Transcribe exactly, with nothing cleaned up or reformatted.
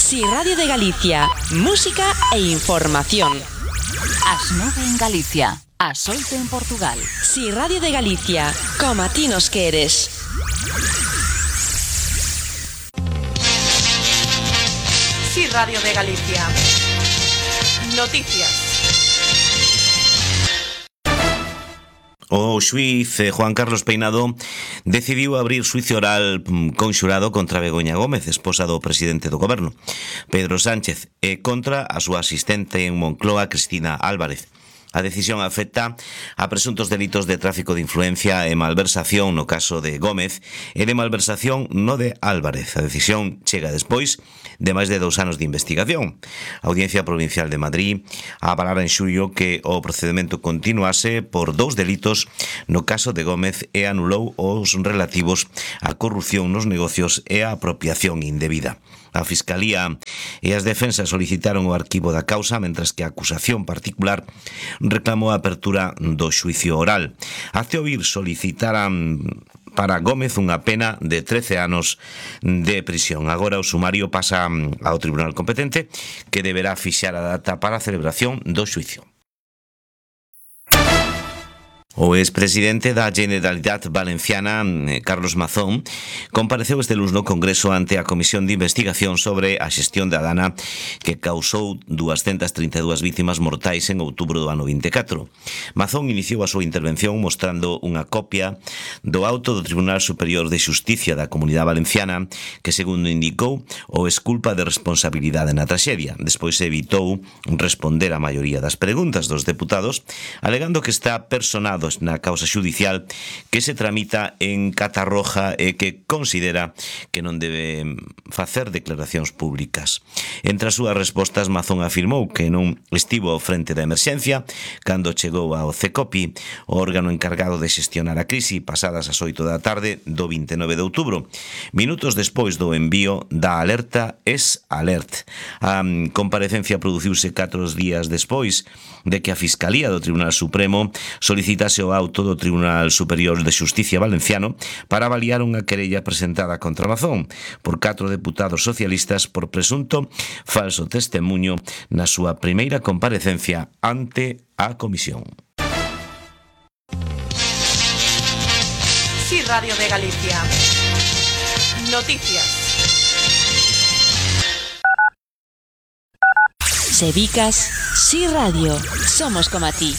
Si Radio de Galicia, música e información. As nove en Galicia, as oito en Portugal. Si Radio de Galicia, como a ti nos queres. Si Radio de Galicia. Noticias. O xuíz Juan Carlos Peinado decidiu abrir xuicio oral conxurado contra Begoña Gómez, esposa do presidente do goberno, Pedro Sánchez, e contra a súa asistente en Moncloa, Cristina Álvarez. A decisión afecta a presuntos delitos de tráfico de influencia e malversación no caso de Gómez e de malversación no de Álvarez. A decisión chega despois de máis de dous anos de investigación. A Audiencia Provincial de Madrid avalara en xullo que o procedimento continuase por dous delitos no caso de Gómez e anulou os relativos á corrupción nos negocios e á apropiación indebida. A Fiscalía e as defensas solicitaron o arquivo da causa, mentras que a acusación particular reclamou a apertura do xuicio oral. Até oír solicitaran para Gómez unha pena de trece anos de prisión. Agora o sumario pasa ao tribunal competente, que deberá fixar a data para a celebración do xuicio. O expresidente da Generalitat Valenciana, Carlos Mazón, compareceu este luns no Congreso ante a Comisión de Investigación sobre a xestión da dana que causou duascentas trinta e dúas vítimas mortais en outubro do ano vinte e catro. Mazón iniciou a súa intervención mostrando unha copia do auto do Tribunal Superior de Xusticia da Comunidade Valenciana que, segundo indicou, o exculpa de responsabilidade na traxedia. Despois evitou responder a maioría das preguntas dos deputados, alegando que está personado na causa xudicial que se tramita en Catarroja e que considera que non debe facer declaracións públicas. Entre as súas respostas, Mazón afirmou que non estivo ao frente da emerxencia cando chegou ao CECOPI, o órgano encargado de xestionar a crise, pasadas as oito da tarde do vinte e nove de outubro, minutos despois do envío da alerta S Alert. A comparecencia produciuse catro días despois de que a Fiscalía do Tribunal Supremo solicitase o auto do Tribunal Superior de Xusticia Valenciano para avaliar unha querella presentada contra Mazón por catro deputados socialistas por presunto falso testemuño na súa primeira comparecencia ante a comisión. Si Radio de Galicia. Noticias. Sebicas, Si Radio, somos como a ti.